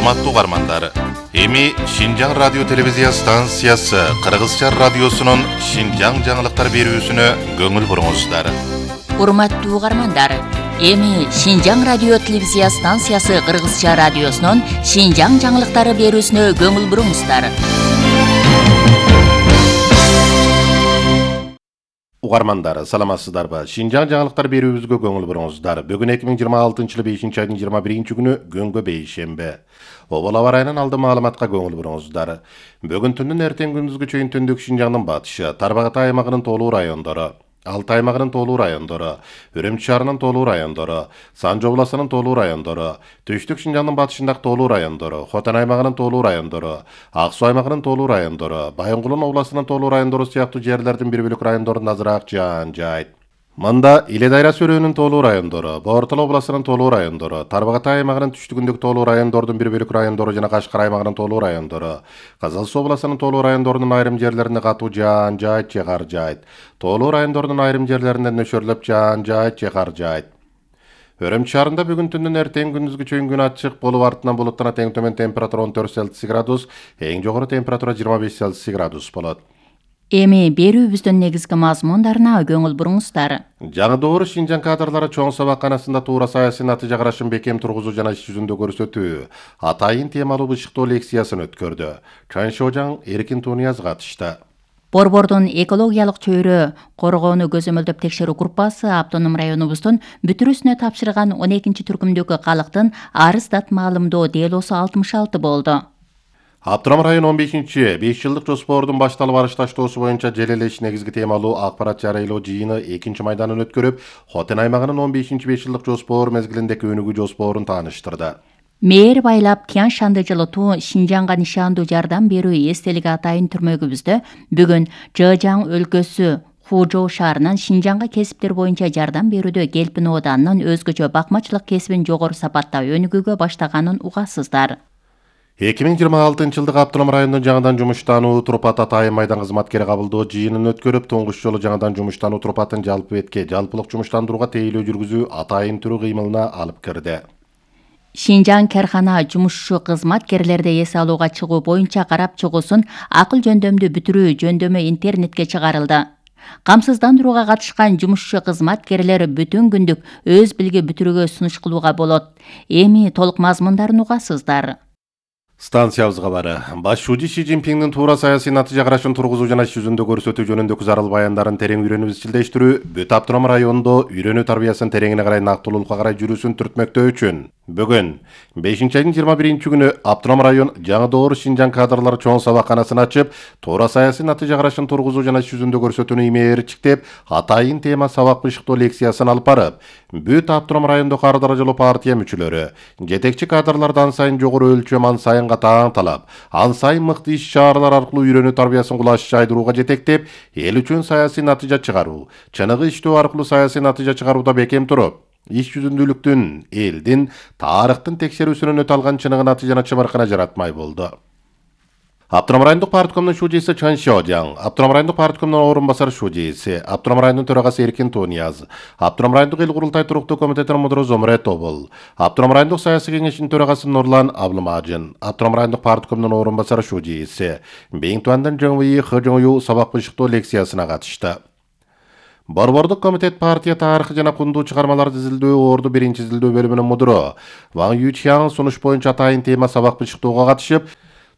Урматтуу угармандар, эми Шинжаң радио телевизия станциясы Кыргызча радиосунун Шинжаң жаңылыктар берүүсүнө көңүл буруңуздар. Урматтуу угармандар, эми Шинжаң радио телевизия станциясы Кыргызча радиосунун Шинжаң жаңылыктары берүүсүнө көңүл буруңуздар. Угармандар, саламатсыздарбы? Шинжаң жаңылыктар берүүбүзгө көңүл буруңуздар. Бүгүн 2026-жылы 5-айдын 21-чи күнү Гөнгө бейшембе. Обол аба ырайынан алды маалыматка көңүл буруңуздар. Бүгүн түндүн эртең күндүзгү чейин түндүк Шинжаңдын батышы, Тарбагата аймагынын толуу райондору, Алтай аймагынын толуу райондору, Үрүмчү шаарынын толуу райондору, Санжы областынын толуу райондору, Түштүк Шинжаңдын батышындагы толуу райондору, Хотан аймагынын толуу райондору, Ак Суу аймагынын толуу райондору, Байынгулун областынын толуу райондору сыяктуу жерлердин бир бөлүк райондорунда азыраак жаан жайт. Мында Иле Дайра Сөрөөнүн толуу райондору, Бортол областынын толуу райондору, Тарбагата аймагынын түштүгүндөгү толуу райондордун бир бөлүк райондору жана Кашкар аймагынын толуу райондору, Кызыл Суу областынын толуу райондорунун айрым жерлеринде катуу жаан жайт же кар жайт. Толуу райондордун айрым жерлеринде нөшөрлөп жаан жайт же кар жайт. Үрүмчү шаарында бүгүн түндүн эртең күндүзгү чейин күн ачык болуп, артынан булуттан тең төмөн температура 14 Цельсий градус, эң жогору температура 25 Цельсий градус болот. Эми берүүбүздүн негизги мазмундарына көңүл буруңуздар. Жаңы доор Шинжаң кадрлары чоң сабакканасында туура саясий натыйжа карашын бекем тургузуу жана иш жүзүндө көрсөтүү, атайын темалуу бышыктоо лекциясын өткөрдү. Чаншожаң Эркин Тунияз катышты. Борбордун экологиялык чөйрө коргоону көзөмөлдөп текшерүү группасы автоном районубуздун бүтүрүүсүнө тапшырган 12-чи түркүмдөгү калктын арыз дат маалымдоо делосу 66 болду. Автоном район 15-чи 5 жылдык жоспордун башталып барыш таштоосу боюнча желелеш негизги темалуу акпарат жарыялоо жыйыны 2-чи майданын өткөрүп, Хотен аймагынын 15-чи 5 жылдык жоспор мезгилиндеги өнүгүү жоспорун тааныштырды. Мээр байлап Тянь Шанды жылытуу Шинжаңга нишандуу жардам берүү эстелиги атайын түрмөгүбүздө бүгүн Жыжаң өлкөсү Хужоу шаарынан Шинжаңга кесиптер боюнча жардам берүүдө Келпин ооданынын өзгөчө бакмачылык кесибин жогору сапатта өнүгүүгө баштаганын угасыздар. 2026-жылдык автоном райондун жаңыдан жумуштануу Турпат атайын майдан кызматкери кабылдоо жыйынын өткөрүп, туңгуч жолу жаңыдан жумуштануу Турпатын жалпы бетке жалпылык жумуштандырууга тейлөө жүргүзүү атайын түрү кыймылына алып кирди. Шинжаң кархана жумушчу кызматкерлерди эс алууга чыгуу боюнча карап чыгуусун акыл жөндөмдү бүтүрүү жөндөмү интернетке чыгарылды. Камсыздандырууга катышкан жумушчу кызматкерлер бүтүн күндүк өз билги бүтүрүүгө сунуш кылууга болот. Эми толук мазмундарын угасыздар. Станциябызга бары. Баш шуужи Си Цзиньпиңдин туура саясий натыйжа карашын тургузуу жана иш жүзүндө көрсөтүү жөнүндөгү зарыл баяндарын терең үйрөнүп изчилдештирүү, бүт автоном райондо үйрөнүү тарбиясын тереңине карай нактылуулукка карай жүрүүсүн түртмөктөө үчүн бүгүн 5-айдын 21-чи күнү автоном район жаңы доор Шинжаң кадрлары чоң сабакканасын ачып, туура саясий натыйжа карашын тургузуу жана иш жүзүндө көрсөтүүнү имээрчиктеп, атайын тема сабак бышыктоо лекциясын алып барып, бүт автоном райондо ар даражалуу партия мүчөлөрү, жетекчи кадрларды ан сайын жогору өлчөм, ан сайын катаң талап, ан сайын мыкты иш чаралар аркылуу үйрөнүү тарбиясын кулаш жайдырууга жетектеп, эл үчүн саясий натыйжа чыгаруу, чыныгы иштөө аркылуу саясий натыйжа чыгарууда бекем туруп, иш жүзүндүүлүктүн, элдин, тарыхтын текшерүүсүнөн өтө алган чыныгы натыйжаны чымыркана жаратмай болду. Автоном райондук парткомдун шужиси Чаншожаң, автоном райондук парткомдун орун басар шужиси, автоном райондун төрагасы Эркин Тунияз, автоном райондук эл курултай туруктуу комитетинин мудуру Зомре Тобул, автоном райондук саясий кеңештин төрагасы Нурлан Аблымажин, автоном райондук парткомдун орун басар шужиси Бейнтуандын Жоңуи Хыжоңу сабак бышыктоо лекциясына катышты. Борбордук комитет партия тарыхы жана кундуу чыгармаларды изилдөө орду 1-изилдөө бөлүмүнүн мудуру Ван Ючяң сунуш боюнча атайын тема сабак бышыктоого катышып,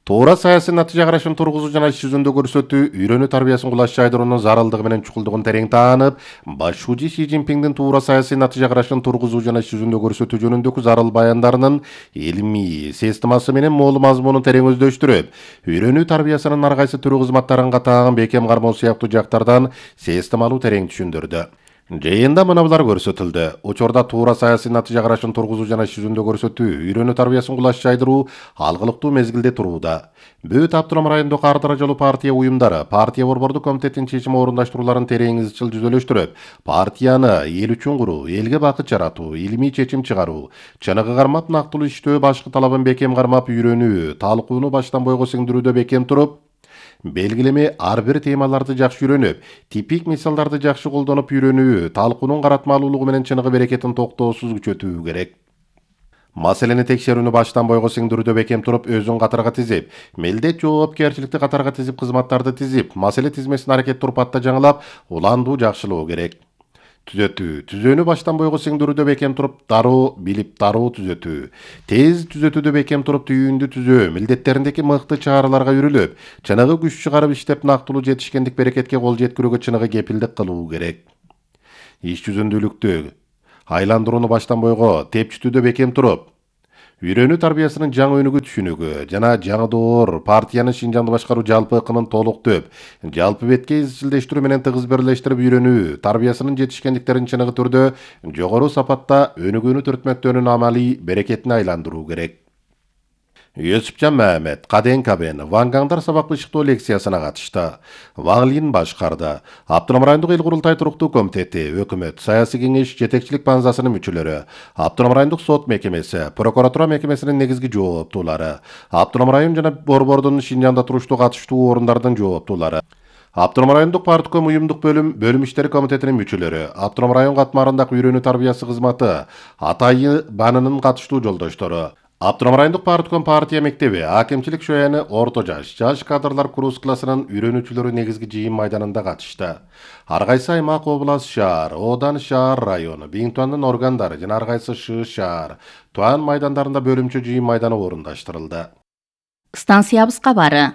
туура саясий натыйжа карашын тургузуу жана иш жүзүндө көрсөтүү, үйрөнүү тарбиясын кулаш жайдыруунун зарылдыгы менен чукулдугун терең таанып, баш шужи Си Цзиньпиңдин туура саясий натыйжа карашын тургузуу жана иш жүзүндө көрсөтүү жөнүндөгү зарыл баяндарынын илимий системасы менен моол мазмунун терең өздөштүрүп, үйрөнүү тарбиясынын ар кайсы түрү кызматтарын катаң бекем кармоо сыяктуу жактардан системалуу терең түшүндүрдү. Жыйында мынабулар көрсөтүлдү. Учурда туура саясий натыйжа карашын тургузуу жана иш жүзүндө көрсөтүү, үйрөнүү тарбиясын кулаш жайдыруу алгылыктуу мезгилде турууда. Бүт автоном райондук ар даражалуу партия уюмдары, партия борбордук комитеттин чечим орундаштырууларын терең изчил жүзөлөштүрүп, партияны эл үчүн куруу, элге бакыт жаратуу, илимий чечим чыгаруу, чыныгы кармап нактылуу иштөө, башкы талабын бекем кармап үйрөнүү, талкууну баштан бойго сиңдирүүдө бекем туруп, белгилеме ар бир темаларды жакшы үйрөнүп, типик мисалдарды жакшы колдонуп үйрөнүү, талкуунун каратмалуулугу менен чыныгы берекетин токтоосуз күчөтүү керек. Маселени текшерүүнү баштан бойго сиңдирүүдө бекем туруп, өзүн катарга тизип, милдет жоопкерчиликти катарга тизип, кызматтарды тизип, маселе тизмесин аракет турпатта жаңылап, уландуу жакшылоо керек. Түзөтүү. Түзөөнү баштан бойго сиңдирүүдө бекем туруп, дароо билип дароо түзөтүү. Тез түзөтүүдө бекем туруп, түйүндү түзөө, милдеттериндеги мыкты чараларга үрүлүп, чыныгы күч чыгарып иштеп, нактылуу жетишкендик берекетке кол жеткирүүгө чыныгы кепилдик кылуу керек. Иш жүзүндүүлүктү айландырууну баштан бойго тепчүтүүдө бекем туруп, үйрөнүү тарбиясынын жаңы өнүгүү түшүнүгү жана жаңы доор партиянын Шинжаңды башкаруу жалпы ыкымын толуктуп, жалпы бетке изчилдештирүү менен тыгыз бирлештирип, үйрөнүү тарбиясынын жетишкендиктерин чыныгы түрдө жогору сапатта өнүгүүнү түртмөктөөнүн амалий берекетине айландыруу керек. Юсупжан Мамед, Каден Кабен, Вангандар сабак ышыктоо лекциясына катышты. Ван Лин башкарды. Автоном райондук эл курултай туруктуу комитети, өкмөт, саясий кеңеш, жетекчилик базасынын мүчөлөрү, Автоном райондук сот мекемеси, прокуратура мекемесинин негизги жооптуулары, Автоном район жана Борбордун Шинжаңда туруштуу катыштуу орундардын жооптуулары, Автоном райондук партком уюмдук бөлүм иштери комитетинин мүчөлөрү, Автоном район катмарындагы үйрөнүү тарбиясы кызматы, Атайы банынын катыштуу жолдоштору, Автоном райондук партком партия мектеби, акимчилик шояны орто жаш кадрлар курс классынын үйрөнүүчүлөрү негизги жыйын майданында катышты. Ар кайсы аймак, область, шаар, одан шаар району, Биңтуандын органдары жана ар кайсы шаар, туан майдандарында бөлүмчө жыйын майданы орундаштырылды. Станциябыз кабары.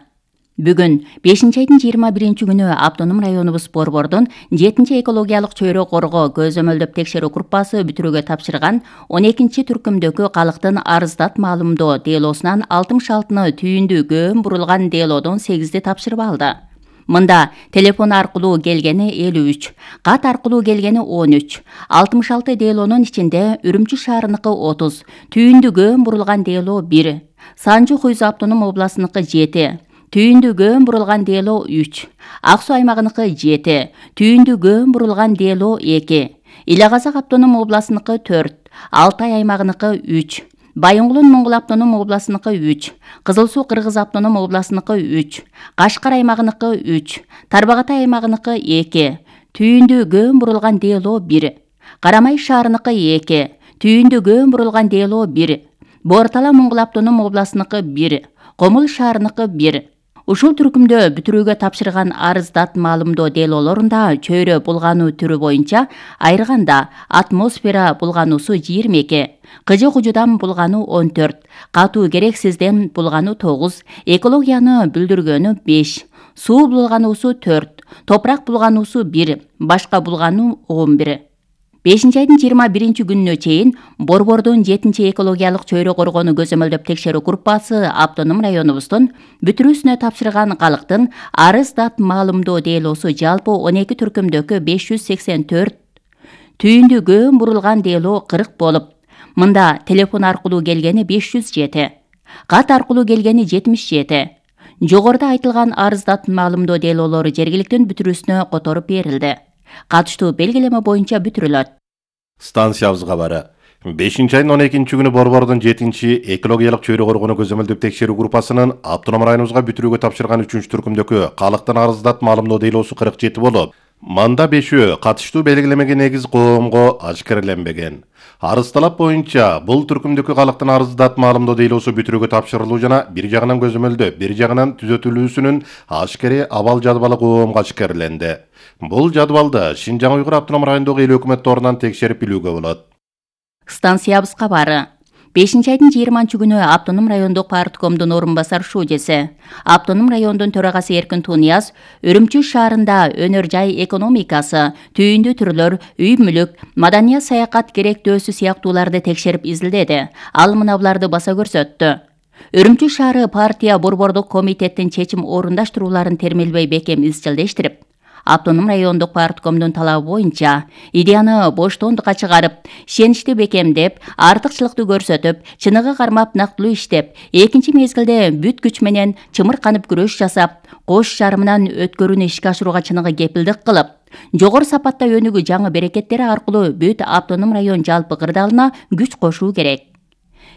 Бүгүн 5-айдын 21-күнү Автоном районубуз Борбордун 7-чи экологиялык чөйрө коргоо көзөмөлдөп текшерүү группасы бүтүрүүгө тапшырган 12-чи түркүмдөгү калктын арыздат маалымдоо делосунан 66-ны түйүндүү көөн бурулган делодон 8-ди тапшырып алды. Мында телефон аркылуу келгени 53, кат аркылуу келгени 13, 66 делонун ичинде Үрүмчү шаарыныкы 30, түйүндүү көөн бурулган дело 1, Санжу Хуйзу автоном областыныкы 7, түйүндүү көөн бурулган дело 3, Ак Суу аймагыныкы 7, түйүндүү көөн бурулган дело 2, Ила Казак автоном областыныкы 4, Алтай аймагыныкы 3, Байоңгулун Моңгул автоном областыныкы 3, Кызыл Суу Кыргыз автоном областыныкы 3, Кашкар аймагыныкы 3, Тарбагатай аймагыныкы 2, түйүндүү көөн бурулган дело 1, Карамай шаарыныкы 2, түйүндүү көөн бурулган дело 1, Бортала Моңгул автоном областыныкы 1, Комул шаарыныкы 1. Ушул түркүмдө бүтүрүүгө тапшырган арыздат маалымдоо делолорунда чөйрө булгануу түрү боюнча айрганда атмосфера булгануусу 22, кыжы кужудан булгануу 14, катуу керексизден булгануу 9, экологияны бүлдүргөнү 5, суу булгануусу 4, топурак булгануусу 1, башка булгануу 11. 5-айдын 21-күнүнө чейин Борбордун 7-чи экологиялык чөйрө коргоону көзөмөлдөп текшерүү группасы Автоном районубуздун бүтүрүүсүнө тапшырган калктын арыздат маалымдоо делосу жалпы 12 түркүмдөгү 584, түйүндүү көөн бурулган дело 40 болуп, мында телефон аркылуу келгени 507, кат аркылуу келгени 77. Жогоруда айтылган арыздат маалымдоо делолору жергиликтин бүтүрүүсүнө которуп берилди. Катыштуу белгилеме боюнча бүтүрүлөт. Станциябыз кабары. 5-айдын 12-күнү Борбордун 7-чи экологиялык чөйрө коргоону көзөмөлдөп текшерүү группасынын Автоном районубузга бүтүрүүгө тапшырган 3-чү түркүмдөгү калктын арыздат маалымдоо делосу 47 болуп, манда 5-өө катыштуу белгилемеге негиз коомго ашкерленбеген. Арыз талап боюнча бул түркүмдөгү калктын арыздат маалымдоо делосу бүтүрүүгө тапшырылуу жана бир жагынан көзөмөлдөп, бир жагынан түзөтүлүүсүнүн ашкери абал жадыбалы коомго ашкерленди. Бул жадыбалды Шинжаң Уйгур автоном райондогу эл өкмөт торунан текшерип билүүгө болот. Станциябыз кабары. 5-айдын 20-күнү Автоном райондук парткомдун орун басар шуудеси, Автоном райондун төрагасы Эркин Тунияз Үрүмчү шаарында өнөр жай экономикасы, түйүндүү түрлөр, үй мүлүк, маданият саякат керектөөсү сыяктууларды текшерип изилдеди. Ал мына буларды баса көрсөттү. Үрүмчү шаары партия борбордук комитеттин чечим орундаштырууларын термелбей бекем изчилдештирип, Автоном райондук парткомдун талабы боюнча идеяны боштондукка чыгарып, ишеничти бекемдеп, артыкчылыкты көрсөтүп, чыныгы кармап нактылуу иштеп, экинчи мезгилде бүт күч менен чымырканып күрөш жасап, кош жарымынан өткөрүүнү ишке ашырууга чыныгы кепилдик кылып, жогору сапатта өнүгүү жаңы берекеттери аркылуу бүт автоном район жалпы кырдаалына күч кошуу керек.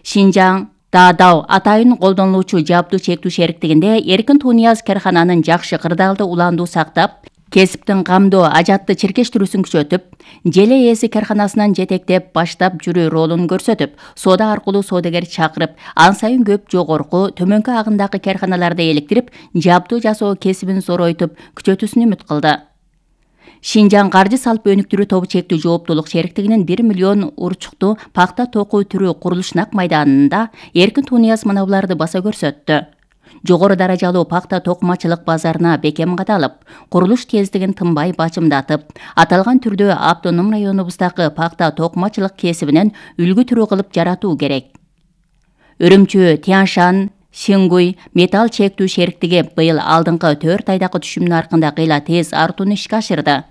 Шинжаң Даадау атайын колдонулуучу жабдуу чектүү шериктигинде Эркин Тунияз керкананын жакшы кырдаалды уландуу сактап, Кесиптин камдоо ажатты чиркештирүүсүн күчөтүп, желе ээси карханасынан жетектеп баштап жүрүү ролун көрсөтүп, соода аркылуу соодагер чакырып, ан сайын көп жогорку, төмөнкү агымдагы карханаларды электирип, жабдуу жасоо кесибин зоройтуп, күчөтүүсүн үмүт кылды. Шинжаң каржы салып өнүктүрүү тобу чектүү жооптуулук шериктигинин 1 миллион урчуктуу пахта току түрү курулуш нак майданында Эркин Тунияз мынабуларды баса көрсөттү. Жогору даражалуу пахта токумачылык базарына бекем кадалып, курулуш тездигин тынбай бачымдатып, аталган түрдө автоном районубуздагы пахта токумачылык кесибинен үлгү түрү кылып жаратуу керек. Үрүмчү, Тяншан, Сингуй металл чектүү шериктиги быйыл алдыңкы 4 айдагы түшүмүнүн аркында кыйла тез артууну ишке ашырды.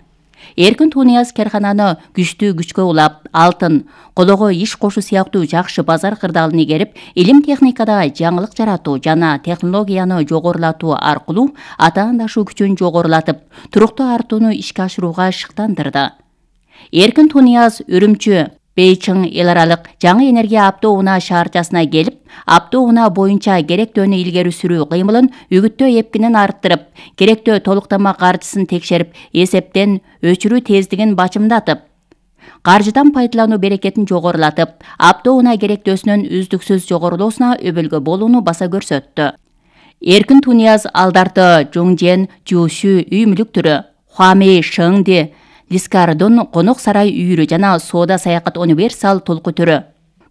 Эркин Тунияз кархананы күчтүү күчкө улап, алтын, колого иш кошу сыяктуу жакшы базар кырдаалын игерип, илим техникада жаңылык жаратуу жана технологияны жогорулатуу аркылуу атаандашуу күчүн жогорулатып, туруктуу артууну ишке ашырууга шыктандырды. Эркин Тунияз Үрүмчү Бейчиң эл аралык жаңы энергия автоунаа шаарчасына келип, автоунаа боюнча керектөөнү илгери сүрүү кыймылын үгүттөө эпкинин арттырып, керектөө толуктама каржысын текшерип, эсептен өчүрүү тездигин бачымдатып, каржыдан пайдалануу берекетин жогорулатып, автоунаа керектөөсүнүн үздүксүз жогорулоосуна өбөлгө болууну баса көрсөттү. Эркин Тунияз алдарты Жуңжен, Жушу үй мүлүк түрү, Хуамей Шыңди, Лискардон конок сарай үйүрү жана соода саякат универсал толку түрү,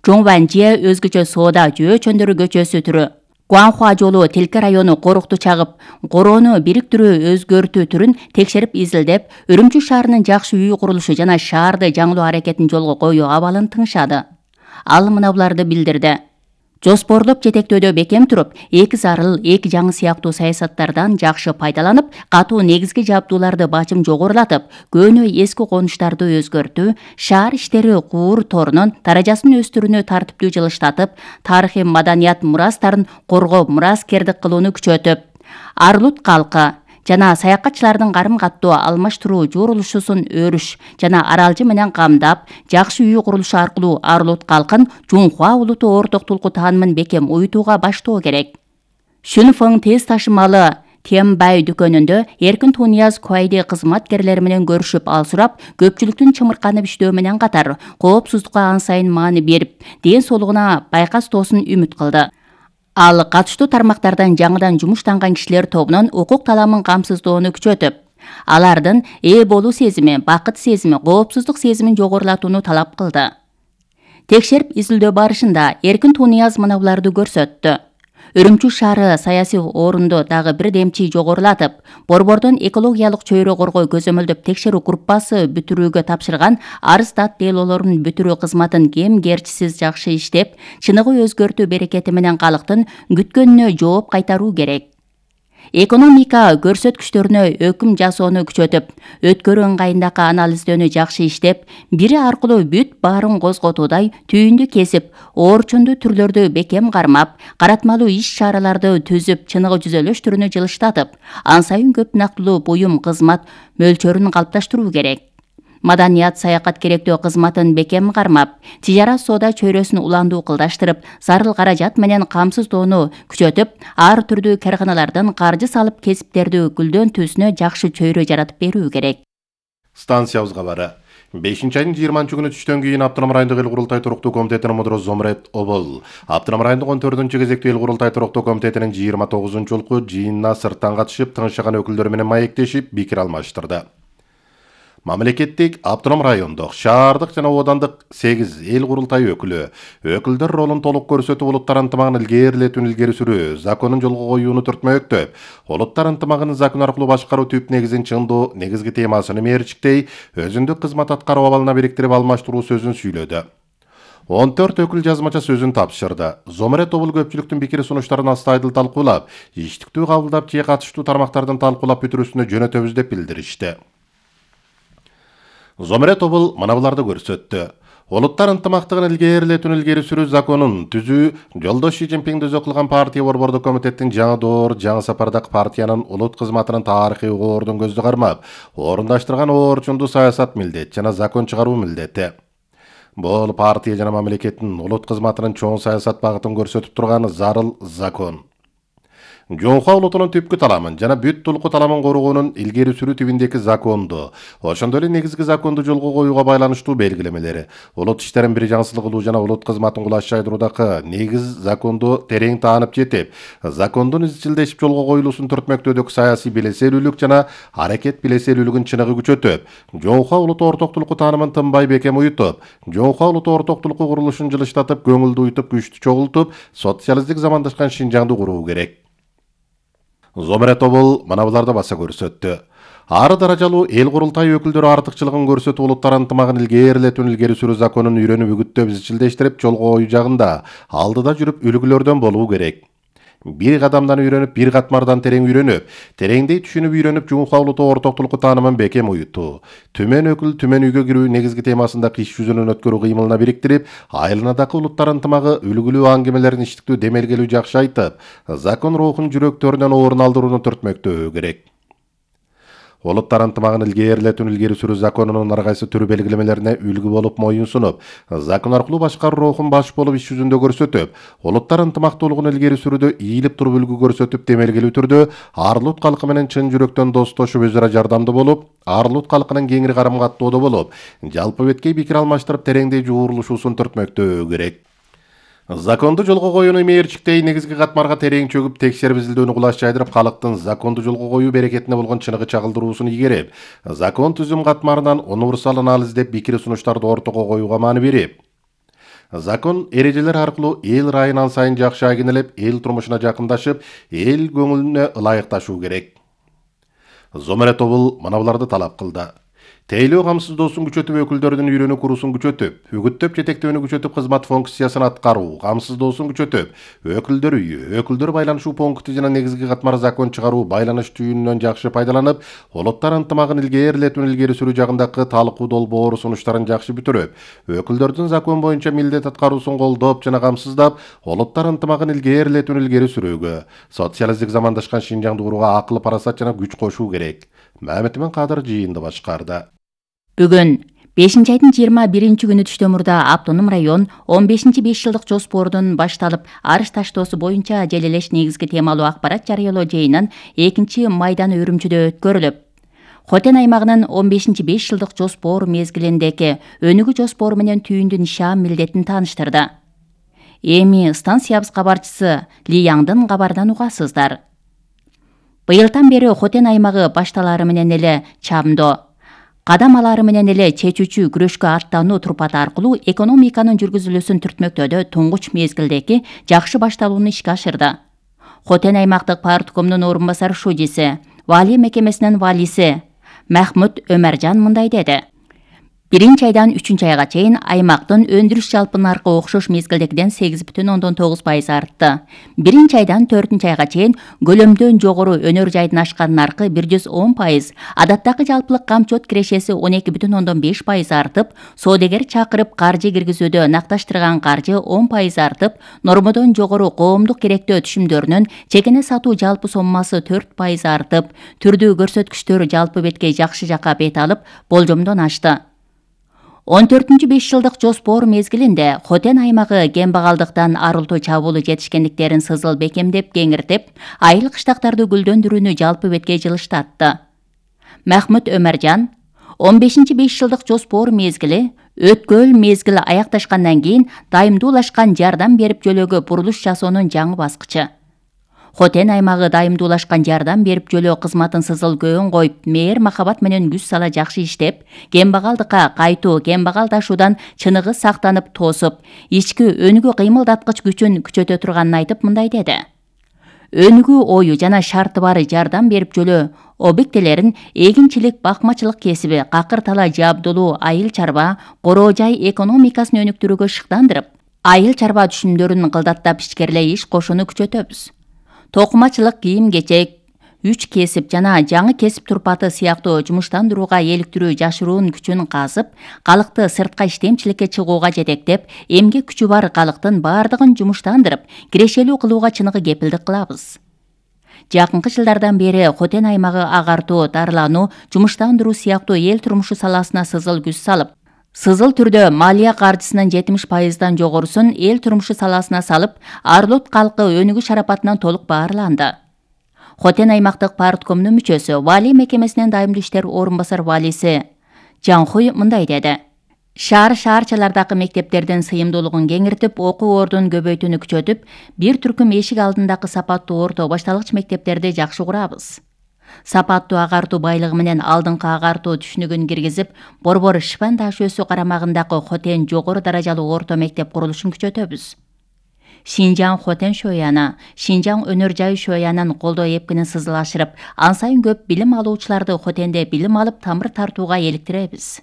Жоңванже өзгөчө соода жөө чөндөрү көчөсү түрү, Гуанхуа жолу Тилке району корукту чагып, короону бириктирүү өзгөртүү түрүн текшерип изилдеп, Үрүмчү шаарынын жакшы үй курулушу жана шаарды жаңылоо аракетин жолго коюу абалын тыңшады. Ал мынабуларды билдирди. Жоспорлоп жетектөөдө бекем туруп, эки зарыл, эки жаңы сыяктуу саясаттардан жакшы пайдаланып, катуу негизги жабдууларды бачым жогорулатып, көөнү эски конуштарды өзгөртүү, шаар иштери куур торунун даражасын өстүрүүнү тартиптүү жылыштатып, тарыхый маданият мурастарын коргоо мураскердик кылууну күчөтүп, Арлут калкы жана саякатчылардын карым-каттоо алмаштыруу журулушусун өрүш жана аралжы менен камдап, жакшы үй курулушу аркылуу Арлут калкын Жунхуа улуту орток тулку таанымын бекем уютууга баштоо керек. Шүнфөң тез ташымалы Тембай дүкөнүндө Эркин Тунияз Куайди кызматкерлери менен көрүшүп ал сурап, көпчүлүктүн чымырканып иштөө менен катар коопсуздукка ан сайын маани берип, ден соолугуна байкастоосун үмүт кылды. Ал катыштуу тармактардан жаңыдан жумуштанган кишилер тобунун укук таламын камсыздоону күчөтүп, алардын ээ болуу сезими, бакыт сезими, коопсуздук сезимин жогорулатууну талап кылды. Текшерип изилдөө барышында Эркин Тунияз мынабуларды көрсөттү. Үрүмчү шаары саясий орунду дагы бир демчи жогорулатып, Борбордон экологиялык чөйрө коргоо көзөмөлдөп текшерүү группасы бүтүрүүгө тапшырган арыз дат делоолорун бүтүрүү кызматын кем-керчисиз жакшы иштеп, чыныгы өзгөртүү берекети менен калктын күткөнүнө жооп кайтаруу керек. Экономика көрсөткүчтөрүнө өкүм жасоону күчөтүп, өткөрүү ыңгайындагы анализдөөнү жакшы иштеп, бири аркылуу бүт баарын козготуудай түйүндү кесип, оорчундуу түрлөрдү бекем кармап, каратмалуу иш-чараларды түзүп, чыныгы жүзөлөштүрүүнү жылыштатып, ан сайын көп нактылуу буюм кызмат мөлчөрүн калыпташтыруу керек. Маданият саякат керектөө кызматын бекем кармап, тижарат соода чөйрөсүн уландуу кылдаштырып, зарыл каражат менен камсыздоону күчөтүп, ар түрдүү карханалардан каржы салып кесиптерди гүлдөн түзүнө жакшы чөйрө жаратып берүү керек. Станциябыз кабары. 5-айдын 20-күнү түштөн кийин Автоном райондук эл курултай туруктуу комитетинин мудуру Зомрет Обол, Автоном райондук 14-кезектүү эл курултай туруктуу комитетинин 29-жолку жыйынына сырттан катышып, тыңшыган өкүлдөр менен маектешип, пикир алмаштырды. Мамлекеттик, автоном райондук, шаардык жана оодандык 8 эл курултай өкүлдөр ролун толук көрсөтүп, улуттар ынтымагын илгерилетүүнү илгери сүрүү, законун жолго коюуну түртмөктөп, улуттар ынтымагын закон аркылуу башкаруу түп негизин чыңдоо негизги темасын мерчиктей, өзүндүк кызмат аткаруу абалына бириктирип алмаштыруу сөзүн сүйлөдү. 14 өкүл жазмача сөзүн тапшырды. Зомрет Обул көпчүлүктүн пикир сунуштарын астайдыл талкуулап, иштиктүү кабылдап, же катыштуу тармактардын талкуулап бүтүрүүсүнө жөнөтөбүз деп билдиришти. Зомрет Обул мынабуларды көрсөттү. Улуттар ынтымактыгын илгерилетүүнү илгери сүрүү законун түзүү, жолдош Си Цзиньпиңди өзү кылган партия борбордук комитеттин жаңы доор, жаңы сапардагы партиянын улут кызматынын тарыхый угоордун көздү кармап, орундаштырган оорчундуу саясат милдет жана закон чыгаруу милдети. Бул партия жана мамлекеттин улут кызматынын чоң саясат багытын көрсөтүп турган зарыл закон. Жоңха улутунун түпкү таламын жана бүт тулку таламын коргоонун илгери сүрүү тибиндеги законду, ошондой эле негизги законду жолго коюуга байланыштуу белгилемелери, улут иштерин бир жаңсыздык кылуу жана улут кызматын кулаш жайдыруудагы негиз законду терең таанып жетип, закондун изчилдешип жолго коюлуусун түртмөктөөдөгү саясий билеселүүлүк жана аракет билеселүүлүгүн чыныгы күчөтүп, жоңха улуту орток тулку таанымын тынбай бекем уютуп, жоңха улуту орток тулку курулушун жылыштатып, көңүлдү уютуп, күчтү чогултуп, социалисттик замандашкан Шинжаңды куруу керек. Зомере тобул мына буларды баса көрсөттү. Ары даражалуу эл курултай өкүлдөрү артыкчылыгын көрсөтүп, улуттар ынтымагын илгери сүрүү законун үйрөнүп үгүттөп изчилдештирип жолго коюу жагында алдыда жүрүп үлгүлөрдөн болуу керек. Бир кадамдан үйрөнүп, бир катмардан терең үйрөнүп, тереңдей түшүнүп үйрөнүп, жоңха улуту орток тулку таанымын бекем уютуу, түмөн өкүл түмөн үйгө кирүү негизги темасында иш жүзүнөн өткөрүү кыймылына бириктирип, айылынадагы улуттар ынтымагы үлгүлүү аңгемелерин иштиктүү демелгелүү жакшы айтып, закон рухун жүрөктөрүнөн орун алдырууну түртмөктөө керек. Улуттар ынтымагын илгери сүрүү законунун ар кайсы түрү белгилемелерине үлгү болуп моюн сунуп, закон аркылуу башкаруу рухун баш болуп иш жүзүндө көрсөтүп, улуттар ынтымактуулугун илгери сүрүүдө ийилип туруп үлгү көрсөтүп, демелгелүү түрдө ар улут калкы менен чын жүрөктөн достошуп, өз ара жардамдуу болуп, ар улут калкынын кеңири карым каттоодо болуп, жалпы беткей пикир алмаштырып, тереңдей жуурулушуусун түртмөктөө керек. Законду жолго коюуну мээрчиктей негизги катмарга терең чөгүп, текшерип изилдөөнү кулаш жайдырып, калктын законду жолго коюу берекетине болгон чыныгы чагылдыруусун игерип, закон түзүм катмарынан универсал анализ деп пикир сунуштарды ортого коюуга маани берип, закон эрежелер аркылуу эл райынан сайын жакшы агенелеп, эл турмушуна жакындашып, эл көңүлүнө ылайыкташуу керек. Зомере тобул мына буларды талап кылды. Тейлөө камсыздоосун күчөтүп, өкүлдөрдүн үйрөнүү курусун күчөтүп, үгүттөп жетектөөнү күчөтүп, кызмат функциясын аткаруу, камсыздоосун күчөтүп, өкүлдөр үйү, өкүлдөр байланышуу пункти жана негизги катмар закон чыгаруу байланыш түйүнүнөн жакшы пайдаланып, улуттар ынтымагын илгери сүрүү жагындагы талкуу долбоор сунуштарын жакшы бүтүрүп, өкүлдөрдүн закон боюнча милдет аткаруусун колдоп жана камсыздап, улуттар ынтымагын илгери сүрүүгө, социалисттик замандашкан Шинжаңды курууга акыл, парасат жана күч кошуу керек. Мамедмин Кадыр жыйынды башкарды. Бүгүн 5-айдын 21-күнү түштөн мурда автоном район 15-5 жылдык жоспордун башталып, арыш таштоосу боюнча желелеш негизги темалуу акпарат жарыялоо жыйынын 2-майданы Үрүмчүдө өткөрүлүп, Хотен аймагынын 15-5 жылдык жоспор мезгилиндеги өнүгүү жоспору менен түйүндү нишан милдетин тааныштырды. Эми станциябыз кабарчысы Ли Яңдын кабарынан угасыздар. Быйылдан бери Хотен аймагы башталары менен эле чамдоо, кадам алары менен эле чечүүчү күрөшкө аттануу турпаты аркылуу экономиканын жүргүзүлүүсүн түртмөктөөдө туңгуч мезгилдеги жакшы башталууну ишке ашырды. Хотен аймактык парткомдун орун басар шудиси, Валия мекемесинин валиси Махмут Өмөржан мындай деди. 1-айдан 3-айга чейин аймактын өндүрүш жалпы наркы окшош мезгилдегиден 8,9% артты. 1-айдан 4-айга чейин көлөмдөн жогору өнөр жайдын ашкан наркы 110%, адаттагы жалпылык камчот кирешеси 12,5% артып, соодагер чакырып каржы киргизүүдө накташтырган каржы 10% артып, нормодон жогору коомдук керектөө түшүмдөрүнүн чекене сатуу жалпы соммасы 4% артып, түрдүү көрсөткүчтөр жалпы беткей жакшы жакка бет алып, болжомдон ашты. 14-5 жылдык жоспор мезгилинде Хотен аймагы кембагалдыктан арылтуу чабуулу жетишкендиктерин сызыл бекемдеп, кеңиртип, айыл кыштактарды гүлдөндүрүүнү жалпы беткей жылыштатты. Махмут Өмөржан 15-5 жылдык жоспор мезгили өткөл мезгили аякташкандан кийин дайымдуулашкан жардам берип жөлөөгө бурулуш жасоонун жаңы баскычы. Хотен аймагы дайымдуулашкан жардам берип жөлөө кызматын сызыл көөн коюп, мээр махабат менен күч сала жакшы иштеп, кембагалдыкка кайтуу, кембагалдашуудан чыныгы сактанып тоосуп, ички өнүгүү кыймылдаткыч күчүн күчөтө турганын айтып мындай деди. Өнүгүү ою жана шарты бар жардам берип жөлөө объектилерин эгинчилик, бакмачылык кесиби, какыр тала жабдылуу, айыл чарба, короо жай экономикасын өнүктүрүүгө шыктандырып, айыл чарба түшүмдөрүн кылдаттап ичкерлей иш кошууну күчөтөбүз. Токумачылык, кийим-кечек, үч кесип жана жаңы кесип турпаты сыяктуу жумуштандырууга эликтирүү жашыруун күчүн казып, калкты сыртка иштемчиликке чыгууга жетектеп, эмгек күчү бар калктын баардыгын жумуштандырып, кирешелүү кылууга чыныгы кепилдик кылабыз. Жакынкы жылдардан бери Хотен аймагы агартуу, дарылануу, жумуштандыруу сыяктуу эл турмушу саласына сызыл күч салып, сызыл түрдө малия каржысынын 70%дан жогорусун эл турмушу саласына салып, ар улут калкы өнүгүү шарапатынан толук баарланды. Хотен аймактык парткомдун мүчөсү, Вали мекемесинин дайымдуу иштер орун басар валиси Жанхуй мындай деди. Шаарчалардагы мектептердин сыйымдуулугун кеңиртип, окуу ордун көбөйтүүнү күчөтүп, бир түркүм эшик алдындагы сапаттуу орто башталгыч мектептерди жакшы курабыз. Сапаттуу агартуу байлыгы менен алдыңкы агартуу түшүнүгүн киргизип, Борбор Шпан таш өсү карамагындагы Хотен жогору даражалуу орто мектеп курулушун күчөтөбүз. Шинжаң Хотен шояны, Шинжаң өнөр жай шоянын колдоо эпкинин сызылашырып, ан сайын көп билим алуучуларды Хотенде билим алып тамыр тартууга эликтиребиз.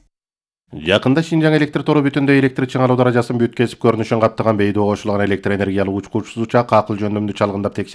Жакында Шинжаң электр тору бүтүндөй электр чыңалуу даражасын бүт кесип көрүнүшүн каттаган бейдөө кошулган электр энергиялык учкучсуз учак акыл жөндөмдү чалгындап текшерүү